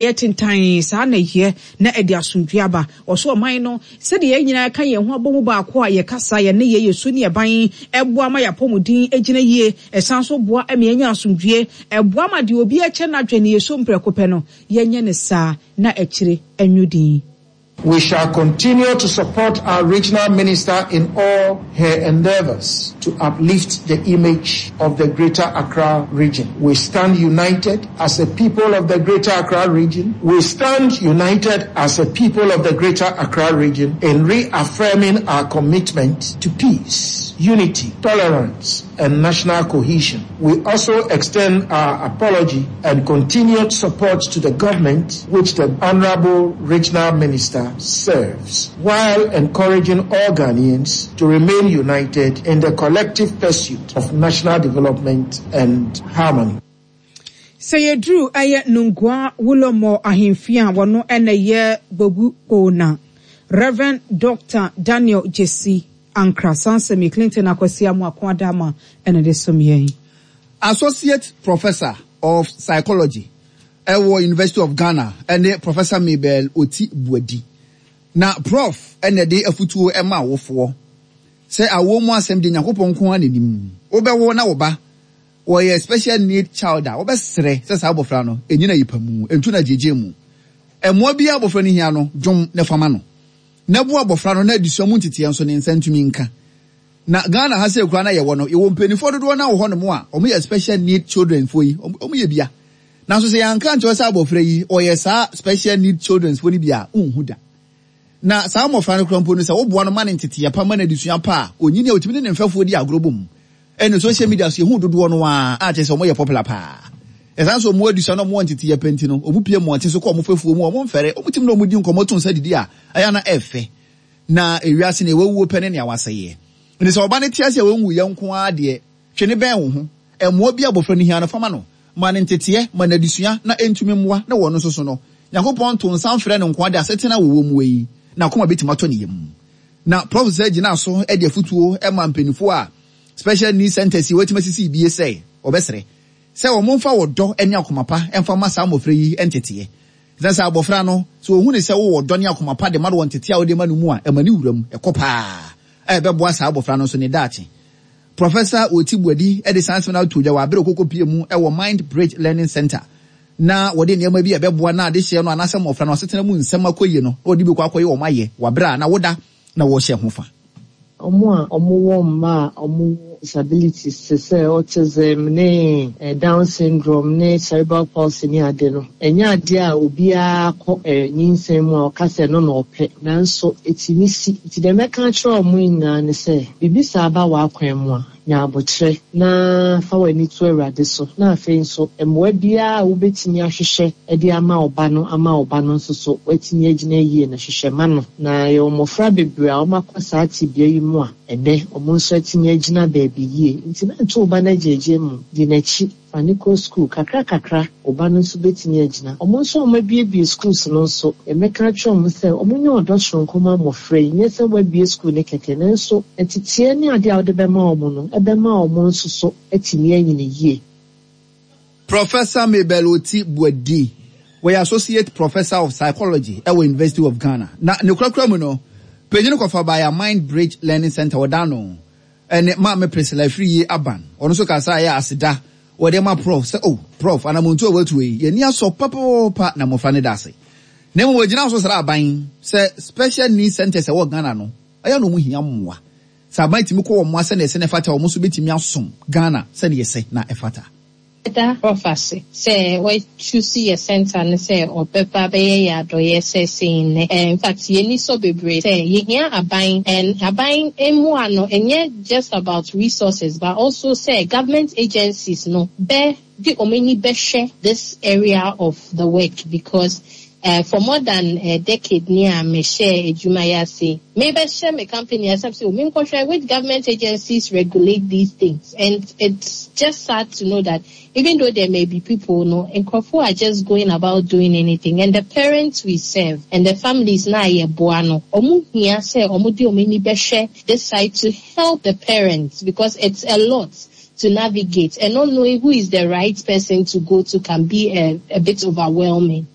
Yɛ tentann, saa na ɛyɛ na ɛde asomdwoeɛ aba. Ɔso ɔman no, sɛdeɛ yɛn nyinaa ka yɛn ho abɔ mu baako a, yɛn kasa, yɛn nneyɛɛ, yɛn su ne yɛn ban boa ma yɛn apɔmuden gyina yie. Ɛsan nso boa ma yɛnya asomdwoeɛ. Ɛboa ma deɛ obiara kyɛ n'adwene ne yɛn su mprɛko pɛ no, yɛnyɛ no saa na akyire anwo din. We shall continue to support our regional minister in all her endeavors to uplift the image of the Greater Accra region. We stand united as a people of the Greater Accra region. We stand united as a people of the Greater Accra region in reaffirming our commitment to peace, unity, tolerance, and national cohesion. We also extend our apology and continued support to the government which the Honorable Regional Minister serves, while encouraging all Ghanaians to remain united in the collective pursuit of national development and harmony. Sɛ yɛduru ɛyɛ Nungua Wulomor ahemfie a wɔno na ɛyɛ Gbogu Kona, Rev. Dɔkta Daniel Gyesi Ankrah, saa nsɛm yi Clinton Akwasi Amoako Adama na ɛde som yɛn. Associate Professor of Psychology wɔ University of Ghana ne Professor Mabel Oti Boadi. Na Prof na ɛde afutuo ma awofoɔ sɛ awoɔ mu asɛm deɛ Nyankopɔn nko ara na nim. Wobɛwo na wo ba wɔyɛ special need child a, wobɛsrɛ sɛ saa abɔfra no ɛnyina yipa mu, ɛntu no agyegye mu. Mmoa biara abɔfra no hia no, dwom na fa ma no. Na boa abɔfra no na adesua mu nteteɛ nso ne nsa ntumi nka. Na Ghana ha sei koraa na yɛwɔ no, yɛwɔ mpaninfoɔ dodoɔ no ara wɔ hɔ nom a wɔn yɛ special need children foɔ yi, wɔn yɛ bia. Nanso sɛ yɛanka ankyerɛ wo sɛ abɔfra yi ɔyɛ saa special need children foɔ no bi a, wonhu da. Na saa mmɔfra no koraa mpo no sɛ woboa no ma no nteteɛ pa, ma no adesua pa a, ɔnyini a ɔtumi ne ne mfɛfoɔ di agorɔ bom. Ɛne social media so yɛhu dodoɔ no ara a kyerɛ sɛ wɔyɛ popular paa. Ɛsan sɛ wɔn adesua na wɔwɔ nteteɛ pa nti no, wɔpue mmɔnten so kɔ wɔn fɛfoɔ mu a, wɔmfɛre, wɔtumi ne wɔn di nkɔmmɔ to nsa didi a, ɛyɛ a na ɛfɛ. Na ewiase nea wawuo pɛ ne nea wasɛeɛ. Enti sɛ ɔba no te ase a wanwuiɛ nko ara deɛ, twe no bɛn wo ho. Mmoa bi a abɔfra no hia no, fa ma no. Ma no nteteɛ, ma no adesua, na ɛntumi mmoa, na wɔ ɔno nso so no, Nyankopɔn nto nsa mfrɛ no nkoa de asetena a wɔwɔ mu yi, n'akoma bɛtumi atɔ ne yam. Na Prɔf. Sɛ gyinaa so de afutuo ma mpaninfoɔ a Special Needs Centres yi wɔatumi asisi bie sɛ, wɔbɛsrɛ sɛ wɔmfa ɔdɔ ne akoma pa mfa mma saa mmɔfra yi nteteɛ. Esiane sɛ abofra no, sɛ ohu no sɛ wowɔ ɔdɔ ne akoma pa de ma no wɔ ntetee a wode ma no mu a, ɛma ne wura mu kɔ paa a ɛbɛboa saa abofra no nso ne daakye. Professor Oti Boadi de saa nsɛm no ato dwa wɔ bere a ɔkɔkɔpuee mu wɔ Mind Bridge Learning Centre na wɔde nneɛma bi a ɛbɛboa na adehyeɛ no anaasɛ mmofra no asetena mu nsɛm akɔ yie no na wɔde bi kɔ akɔyɛ wɔn ayɛ wɔ bere a na woda na wɔhyɛ ho fa. Wɔn a wɔwɔ mma a wɔwɔ disabilities te sɛ autism ne Down syndrome ne cerebral palsy ne ade no, ɛnyɛ adeɛ a obiara kɔ nyinsɛn mu a ɔka sɛ ɛno na ɔpɛ, nanso ɛtumi si. Nti deɛ mɛka akyerɛ wɔn nyinaa ne sɛ, biribi saa ba w'akwan mu a, Nya aboterɛ na fa w'ani to Awurade so, na afei nso mmoa biara a wobɛtumi ahwehwɛ de ama wo ba no ama wo ba no nso so watumi agyina yie no, hwehwɛ ma no. Na yɛwɔ mmɔfra bebree a wɔakɔ saa tebea yi mu a ɛnnɛ wɔn nso atumi agyina baabi yie. Nti mɛnto wo ba no agyaagyaa mu, di n'akyi. Fa no kɔ sukuu. Kakrakakra, wo ba no nso betumi agyina. Wɔn nso a wɔabuebue schools no nso, yɛbɛka akyerɛ wɔn sɛ wɔnyɛ ɔdɔ soronko mma mmofra yi. Nyɛ sɛ woabue sukuu no kɛkɛ, nanso nteteɛ ne ade a wode bɛma wɔn no bɛma wɔn nso so atumi anyini yie. Professor Mabel Oti Boadi, ɔyɛ Associate Professor of Psychology wɔ University of Ghana, na ne korakora mu no, panyin kɔfa baeɛ a Mind Bridge Learning Centre wɔda ano. Ɛne Maame Priscilla Afriyie Aban, ɔno nso kaa saa ɛyɛ aseda wɔde ma Prof sɛ oh Prof anamontuo a watu yi yɛn ani asɔ papaapa na mmɔfra no da ase. Na mmom wɔgyina so srɛ aban sɛ special needs centres a ɛwɔ Ghana no ɛyɛ a na wɔn hia mmoa. Sɛ aban tumi kɔ wɔn mmoa sɛdeɛ ɛsɛ na ɛfata a wɔn nso bɛtumi asom Ghana sɛdeɛ ɛsɛ na ɛfata. Yɛda Prof ase sɛ wa choose yɛ centre no sɛ ɔbɛba abɛyɛ yɛ adɔyɛ sɛ sei nnɛ. Infact yɛni sɔ bebree sɛ yɛhia aban and aban mmoa no ɛnyɛ just about resources but also sɛ government agencies no bɛ de wɔn ani bɛhwɛ this area of the work because for more than a decade ni a me hyɛɛ adwuma yi ase yi, me bɛ hyɛ me company ase sɛ o me nkɔhwɛ which government agencies regulate these things and it's just sad to know that even though there may be people no, nkurɔfoɔ are just going about doing anything and the parents we serve and the families no a yɛ boa no, wɔn hia sɛ wɔn de wɔn ani bɛhwɛ this side to help the parents because it's a lot to navigate and not knowing who is the right person to go to can be a, a bit overwhelming.